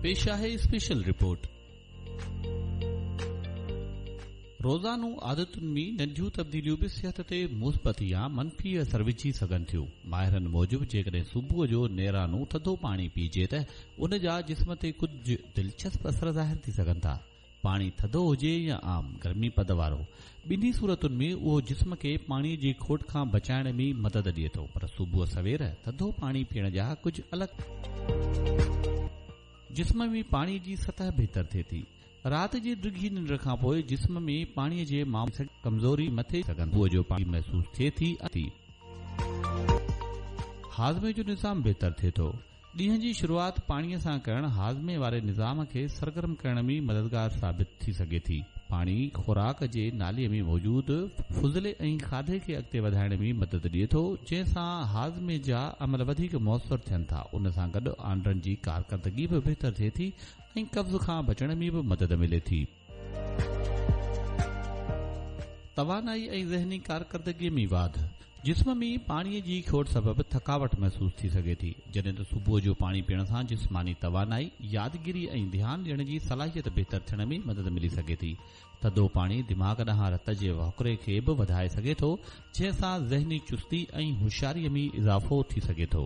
پيش آهي special report. روزانو عادتن ۾ ننڍيون تبديليون به صحت تي مثبت يا منفي اثر وجهي سگهن ٿيون. ماهرن موجب جيڪڏهن صبح جو نيرانو ٿڌو پاڻي پيئجي ته ان جا جسم تي ڪجهه دلچسپ اثر ظاهر ٿي سگهن ٿا. پاڻي ٿڌو هجي يا عام گرمي پد وارو، ٻنهي صورتن ۾ اهو جسم کي پاڻي جي کوٽ کان بچائڻ ۾ مدد ڏئي ٿو پر صبح سوير ٿڌو پاڻي پيئڻ جا ڪجهه الڳ جسم ۾ پاڻي جي سطح بهتر ٿئي ٿي. رات جي ڊگهي ننڊ کان پوء جسم ۾ پاڻي جي معاملي ڪمزوري مٿي صبح جو پاڻي محسوس ٿئي ٿي ۽. هاضمي جو نظام بهتر ٿئي ٿو. ڏينهن جي شروعات پاڻي سان ڪرڻ هاضمي واري نظام کي سرگرم ڪرڻ ۾ مددگار ثابت ٿي سگهي ٿي. پاڻي خوراڪ جي نالي ۾ موجود فضلي ۽ کاڌي کي اڳتي وڌائڻ ۾ مدد ڏئي ٿو، جنهن سان هاضمي جا عمل وڌيڪ موثر ٿين ٿا. ان سان گڏ آنڊن جي ڪارڪردگي به بهتر ٿئي ٿي ۽ قبض کان بچڻ ۾ به مدد ملي ٿي. توانائي ۽ ذهني ڪارڪردگي ۾ واڌ، جسم ۾ پاڻي جي کوٽ سبب ٿڪاوٽ محسوس ٿي سگهي ٿي، جڏهن ته صبح جو پاڻي پيئڻ سان جسماني توانائي، يادگيري ۽ ڌيان ڏيڻ جي صلاحيت بهتر ٿيڻ ۾ مدد ملي سگهي ٿي. ٿڌو پاڻي دماغ ڏانهن رت جي وهڪري کي به وڌائي سگهي ٿو، جنهن سان ذهني چستي ۽ هوشياري ۾ اضافو ٿي سگهي ٿو.